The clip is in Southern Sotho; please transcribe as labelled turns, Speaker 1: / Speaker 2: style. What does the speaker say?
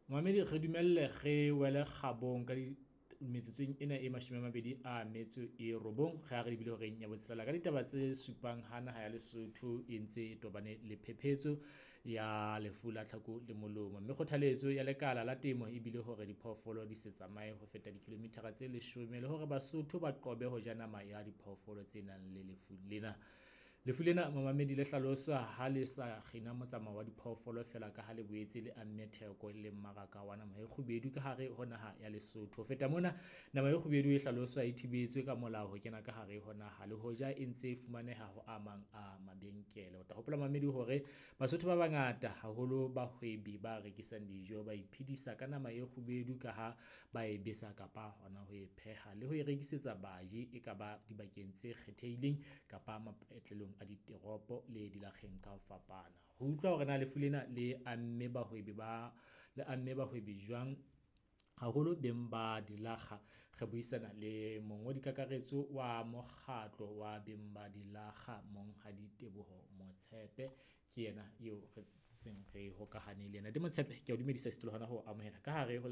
Speaker 1: Momamedi, re dumelle re wele kgabong ka metsotsong ena e 29 re ha re lebile horeng ya botshelela ka ditaba tse supang ha naha ya Lesotho e ntse e tobane le phephetso ya lefu la tlhako le molomo, mme kgothaletso ya lekala la temo e bile hore diphoofolo di se tsamaye ho feta dikilomithara tse 10 le hore Basotho ba qobe ho ja nama ya diphoofolo tse nang le lefu lena. Lefu lena, momamedi, le hlaloswa ha le sa kgina motsamao wa diphoofolo feela ka ha le boetse le amme theko le mmaraka wa nama e kgubedu ka hare ho naha ya Lesotho. Ho feta mona, nama e kgubedu e hlaloswa e thibetswe ka molao ho kena ka hare ho naha le hoja e ntse e fumaneha ho a mang a mabenkele. O tla hopola, mamedi, hore Basotho ba bangata haholo bahwebi ba rekisang dijo ba iphedisa ka nama e kgubedu ka ha ba e besa kapa hona ho e pheha le ho e rekisetsa baji, e ka ba dibakeng tse kgethehileng kapa mapatlelong a diteropo le dilakgeng ka ho fapana. Ho utlwa hore na lefu lena le amme bahwebi ba le amme bahwebi jwang, haholo beng ba dilakga, re buisana le mongodi kakaretso wa mokgatlo wa beng ba dilakga, Monghadi Teboho Motshepe. Ke yena eo re seng re hokahane le yena. Ntate Motshepe, ke a o dumedisa le hona ho amohela ka hare ho.